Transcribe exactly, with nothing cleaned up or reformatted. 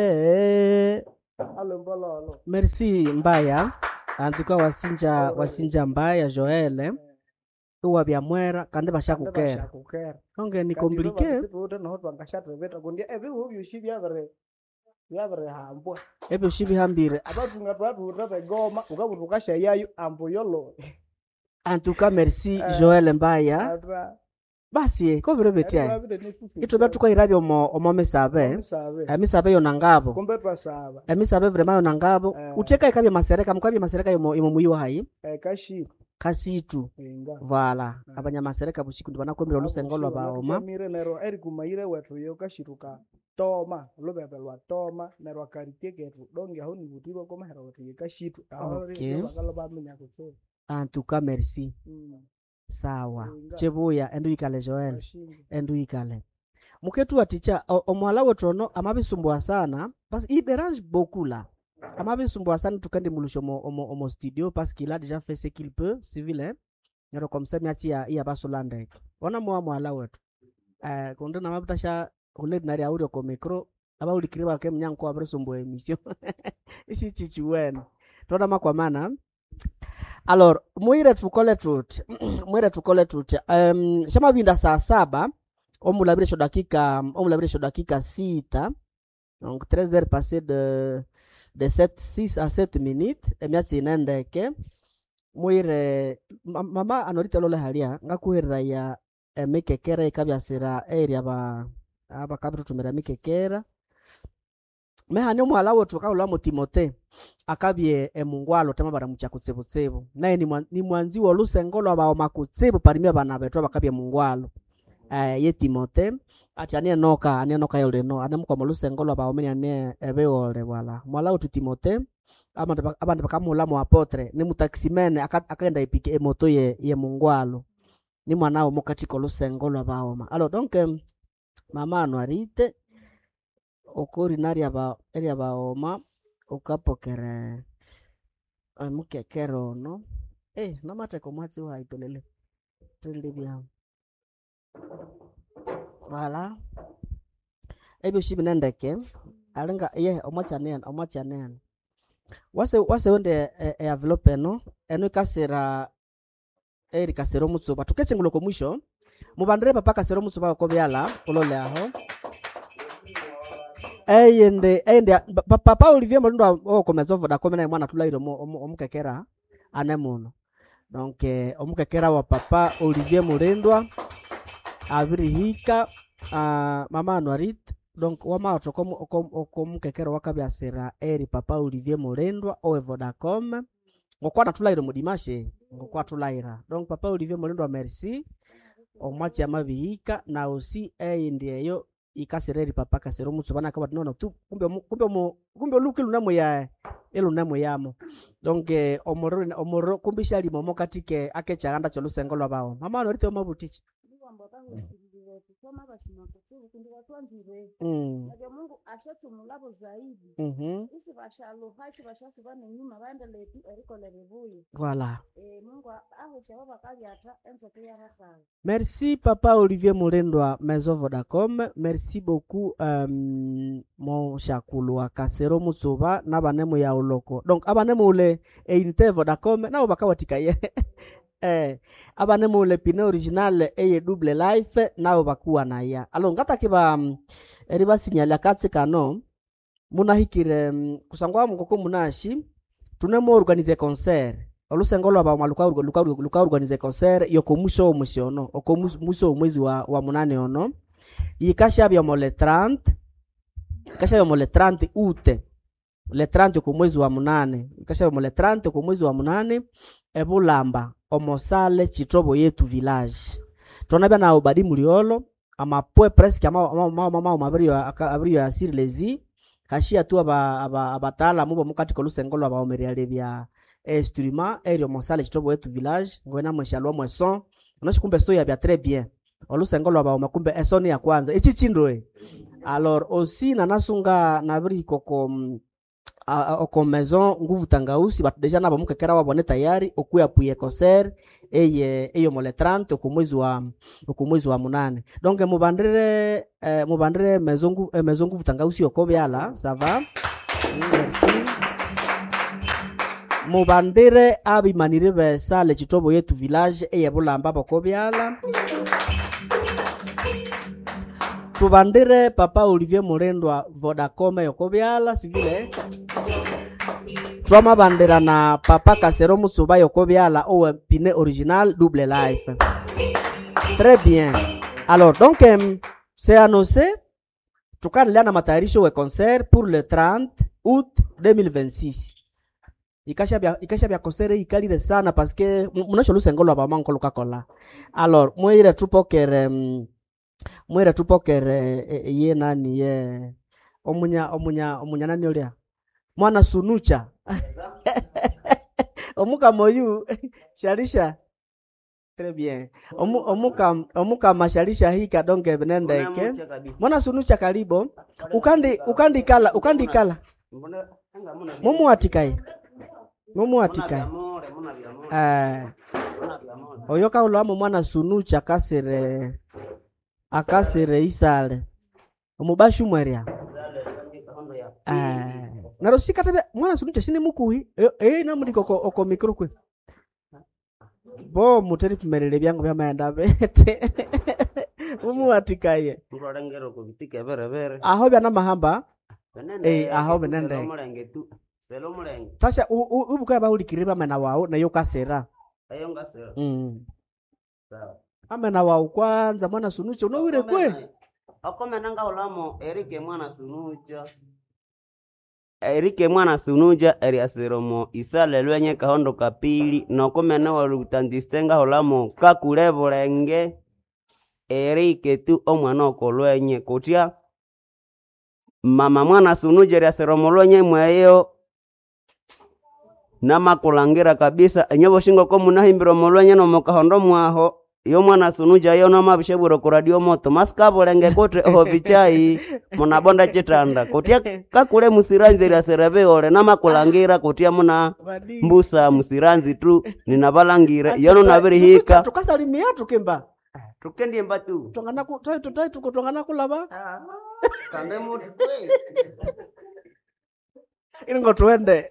Eh, merci Mbaya antuka wasinja wasinja Mbaya Joel iwabya mwera kandi bashakukera Bashakukera onge ni compliqué. Noho twangashatebeta kundi ebihu byosi byabiri byabirihambwa Ebyo shibihambire. Abatunga twathuta begoma ukabutha ukashayayo ambu yolo. Antuka merci Joel Mbaya. Ata Basi kovire betya itwe tukahirabya omo omo misabe. Misabe. Emisabe yona ngabo. Kumbe twasaba. Emisabe vrema yona ngabo. Eh. Utheka ikabya masereka mukabya masereka yomo yomo muyi wahayi. Kashi Kasitu. inga. Vala abanyamasereka busiku ndibanakwemera olusengo lwa baoma. Mire neryo erikumayire wethu yo kashituka toma lubebe lwa toma neryo akarite kethu donge aho nibutibwa komahera wethu ye kashitu aho Okay. bakalo baminya kutsibu. Antuka merci. Mm. Sawa. Inga. Chebuya endu ikale Joel. Kashinga. Endu ikale. Muketu waticha omwala wetu ono amabisumbua sana parce il dérange beaucoup là. Amabisumbua sana tukende mulusho omo, omo, omo studio parce qu'il a déjà fait ce qu'il peut civil hein. Nero comme ça miatsi ya iya basolandeke. Ona mwa mwala wetu. Eh kondo na mabutasha uledinari audio ko micro abaulikire bake mnyanko abrisumbua emission. Isi chichiwena. Tona makwamana. Alors mwire tukole tuti mwire tukole tuti um, shamavinda saa saba omulabire sho dakika omulabire sho dakika sita, donc treize heures passé de de sept six à sept minutes emyatsi inendeke mwire ma- mama anorite lole halia ngakuherera ya emikekera ikabyasira eri aba abakabitutumira emikekera mehani omwala wetu akaulamo Timote akabye emungwalo tema baramucha kutsibutsibu naye ni mwa- ni mwanzi wa lusengo lwa baoma kutsibu parimia bana betu abakabye mungwalo eh, ye Timote ati anie noka anie noka yoleno anemukwama lusengo lwa baomeni anie ebeole bwala mwala wetu Timote abandu bak- abandu bakamulamo apotre ni mutaximene aka- akaenda ipike emoto ye, ye mungwalo ni mwana wo mukatiko lusengo lwa baoma alo donc em, mama anwarite okori naria ba eria baoma ukapokere omukekera ono eh namateka omwatsi waipelele tindibya vala ebyo shibinendeke alinga ye omwatsi anene omwatsi anene wase wase wende e, e envelope eno eno ikasira eri kasira omutsuba tukechingula ko mwisho mubandire papa kasira omutsuba ko byala ulole aho eyende eyende pa- papa Olivier Malindo okomeza Vodacom naye mwana tulaire omu- omu- omukekera ane muno donc eh, omukekera wa papa Olivier Mulindwa abirihika uh, mama Anuarit donc wamaotho okomukekera wakabyasira eri papa Olivier Mulindwa owe Vodacom ngokwana tulaire mudimashe ngokwa tulaira donc papa Olivier Mulindwa merci omwatsi amabihika na osi eyindi eyo ikasira eri papa kasira omutsuba nakabati nono tu kumbe omu- kumbe omu- kumbe oluki lunamo ya elunamo yamo donc eh, omuriro omuriro kumbe ishalima omo katike akechaghanda kyolusengo lwabawo mama anorite omabutichi Ndiwamba bakahulirire kusoma bashima kutsibu kundi batwanzire mm. nabyo Mungu ashatsumulabo zaidi mm isi bashaluha isi bashasuba nenyuma baendelee tu erikolha ebibuya. Voilà. Eh, Mungu ahusha abo bakabyatha enzoka iyabasaba. Merci papa Olivier Mulindwa Maison Vodacom. Merci beaucoup um, mon shakulu wa Kasero Mutsuba n'abanemu ya uloko. Donc abanemu ule einite Vodacom nabo bakawatikaye. Eh, abanemu ule pine original eye double life nabo bakuwa naya. Alo ngatakiba um, eribasinyalya katsi kano munahikire um, kusangwa mukoko munashi tunemo organize concert olusengo lwa bauma luka luka luka organize concert yoko muso omusi ono oko muso omwezi wa, wa munane ono yikashabya mo le trente ikashabya mo le trente août le trente oko mwezi wa munane ikashabya mo le trente oko mwezi wa munane ebulamba omosale chitobo yetu village tonabya na obadi muliolo amapwe presque ama ama ama ama abrio abrio asiri lezi hashia tu aba aba abataalamu bomukatiko olusengo lwa baomeryale bya instrument eryo mosale chitobo yetu village ngwena mweshalwa mweson onoshi kumbe sto yabya très bien olusengo lwa baoma kumbe esoni ya kwanza ichi chindwe alors aussi nanasunga nabiri koko mm, a- oko maison Nguvu Tangausi batu deja nabo mukekera wabo ne tayari okuyapuye concert eye eyo mole trente oku mwezi wa oku mwezi wa munane. Donc mubandire eh, mubandire maison Nguvu, eh, maison Nguvu Tangausi oko byala, ça va? Merci. Mubandire abimanire besale chitobo yetu village eye Bulamba boko byala. Tubandire papa Olivier Mulendwa Vodacom yoko byala sivile. Twamabandira na papa Kasero Mutsuba yoko byala owe pine original double life. Très bien. Alors donc euh, c'est annoncé tukanilea na matayarisho we concert pour le trente août deux mille vingt-six. Ikasha bya ikasha bya concert ikalire sana parce que munasho lusengo lwa bamanko lukakola. Alors mwire tupokere mm, mwire tupokere eh, ye nani ye omunya omunya omunya nani olia mwana sunucha omukama oyu shalisha. Très bien. Omu, omuka omukama shalisha hika donc nendeke mwana sunucha karibo ukandi ukandikala ukandikala mumuatikaye mumuatikaye eh oyo kaulamo mwana sunucha akasire akasire isale omubashu mwerya eh naro sikatabe mwana sunucha sine mukuhi eh eh namuli koko oko mikro kwe bo muteri pimerere byangu byamaenda bete mumuatikaye Muralengera kubitika berebere. Aho byana mahamba. Benende. Eh, aho benende. Omulenge tu. Selo omulenge. Tasha ubuka bahulikire bamena wawu nayo kasera. Ayo ngasera. Mm. Sawa. Amena wawu kwanza mwana sunucha unowire kwe. Okomena ngaulamo Erike mwana sunuja. Erike mwana sunuja eriasiromo isale lwenye kahondo kapili nokomena walutandiste ngaulamo kakule bulenge Erike tu omwana okolwenye kutya mama mwana sunuja eriasiromo lwenye mweyo namakulangira kabisa enye ko munahimbira omolwenye nomukahondo mwaho yo mwana sunuja yo namabishebwire ku radio moto masikabulenge kuti oho bichai munabonda chitanda kutya kakule musiranzi lyaserebe ole namakulangira kutya muna mbusa musiranzi tu ninabalangire yono nabirihika. Tukasalimia tukimba. Tukendimba tu. Twangana ku tai tai tuko twangana kulaba. Kambe mutu. Ilingo tuende.